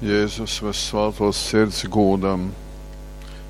Jēzus vyssvātōs Sirds gūdam.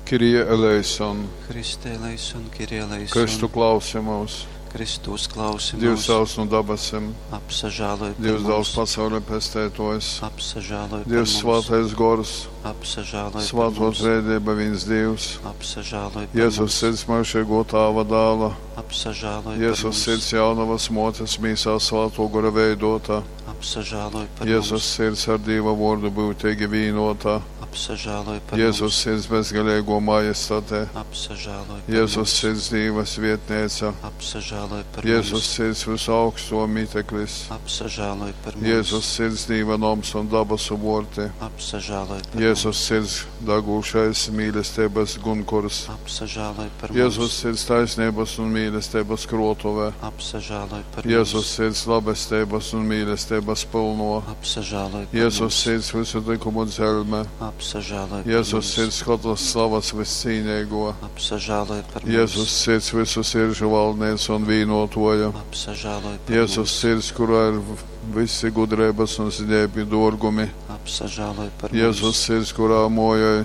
Kyrie eleison. Christe eleison, Kyrie eleison. Kristu klausi mūs. Kristu uzklausi Dievs mūs. Tēvs nu dabasim. Apsažāloj par Dievs Dāls mums. pasaules pestētojs. Apsažāloj par Dievs mums. svētais gors. Apsažāloj par Svāto mums. trēdība viens Dievs. Apsažāloj par Jēzus mums. sirds myužīgo tāva dāla. Apsažāloj par Jēzus mums. sirds jaunavas motes mīsā svāto gora veidota. Apsažāloj par Jēzus mums. sirds ar Dieva vārdu būtīgi vīnota. Apsažāloj par Jēzus mums. sirds bezgalīgo majestāte. Apsažāloj par Jēzus mums. sirds Dievas vietnēca. Apsažāloj par Jēzus mums. sirds visu augsto miteklis. Apsažāloj par mums. Jēzus sirds Dieva noms un dabasu vorti. Apsažāloj par Jēzus mums. sirds dagūšais mīlestības gunkurs. Apsažāloj par Jēzus mums. sirds taisnības un mīlestības krotuve. Apsažāloj par Jēzus mums. sirds labestības un mīlestības pilno. Apsažāloj par Jēzus mums. sirds visu likumu dzelme. Apsažāloj par Jēzus mums. sirds katras slavas viscīnīgo. Apsažāloj par Jēzus mums. sirds visu siržu valdniece un vīnotoja. Apsažāloj par Jēzus mums. sirds, kurā ir visi gudrības un zinēbi dorgumi. Apsažāloj par Jēzus mums. sirds, kurā mojai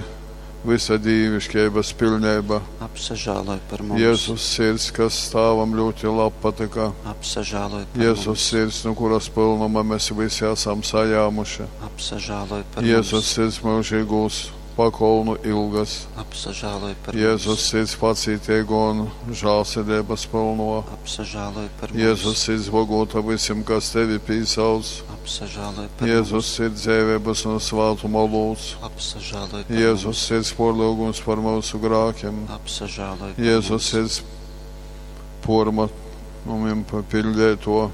visa dīvišķības pilnība. Apsažāloj par mums. Jēzus sirds, kas stāvam ļoti labi patika. Apsažāloj par Jēzus mums. sirds, no kuras pilnuma mēs visi esam sajāmuši. Apsažāloj par Jēzus mums. sirds mūžīgūs pakolnu ilgas. Apsažāloj par Jēzus mums. sirds pacītīgo un žālsirdības pilno. Apsažāloj par mums. Jēzus sirds bogota visiem, kas tevi pīsauc. Apsažāloj par Jēzus mums. sirds dzēvības un svātuma lūdz. Apsažāloj par Jēzus mums. sirds porlūgums par mūsu grākiem. Apsažāloj par Jēzus mums. sirds pormatumiem papildēto.